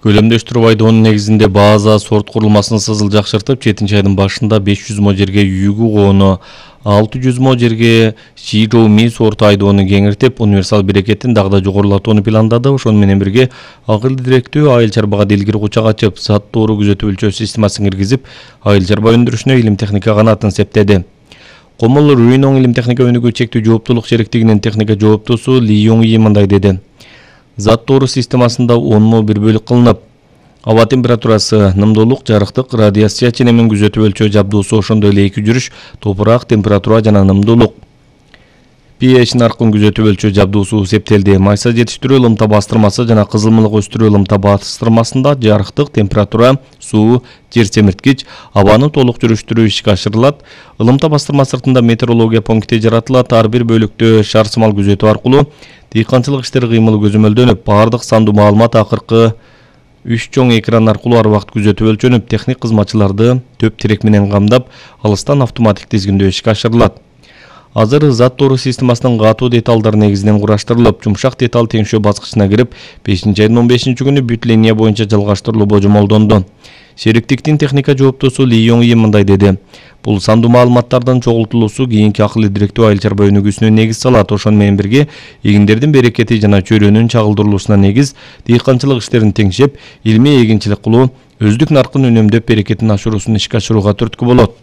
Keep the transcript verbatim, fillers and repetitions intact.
Көлөмдөштүрүп айдоонун негизинде база сорт курулмасын сызыл жакшыртып, жетинчи айдын башында беш жүз мо жерге үйгү коону, алты жүз мо жерге Широ Ми сорту айдоону кеңиртип, универсал берекетин дагы да жогорулатууну пландады. Ошону менен бирге акылдуу директүү айыл чарбага делгир кучак ачып, зат тоору күзөтүп өлчөө системасын киргизип, айыл чарба өндүрүшүнө илим техника канатын септеди. Комол Руйнон илим техника өнүгүү чектүү жооптуулук шериктигинин техника жооптуусу Ли Юң И мындай деди. Зат тоору системасында он мо бир бөлүк кылынып, аба температурасы, нымдуулук, жарыктык, радиация ченемин күзөтүп өлчөө жабдуусу, ошондой эле эки жүрүш, топурак, температура жана нымдуулук, pH наркын күзөтүп өлчөө жабдуусу септелди. Майса жетиштирүү ылымта бастырмасы жана кызылмылык өстүрүү ылымта бастырмасында жарыктык, температура, суу, жер семирткич, абаны толук жүрүштүрүү ишке ашырылат. Ылымта бастырма сыртында метеорология пункти жаратылат. Ар бир бөлүктө шар сымал күзөтүү аркылуу дыйканчылык иштери кыймылы көзөмөлдөнүп, баардык сандуу маалымат акыркы үч чоң экран аркылуу ар убакыт күзөтүп өлчөнүп, техник кызматчыларды төп тирек менен камдап, алыстан автоматик тизгиндөө ишке ашырылат. Азыр зат тоору системасынын катуу деталдары негизинен кураштырылып, жумшак деталь теңшөө баскычына кирип, бешинчи айдын он бешинчи күнү бүт линия боюнча жалгаштырылуу божомолдонду. Шериктиктин техника жооптуусу Ли Юң И мындай деди. Бул сандуу маалыматтардын чогултулуусу кийинки акылдуу директүү айыл чарба өнүгүүсүнө негиз салат. Ошону менен бирге эгиндердин берекети жана чөйрөнүн чагылдырылуусуна негиз, дыйканчылык иштерин теңшеп, илмий эгинчилик кылуу, өздүк наркын үнөмдөп берекетин ашыруусун ишке ашырууга түрткү болот.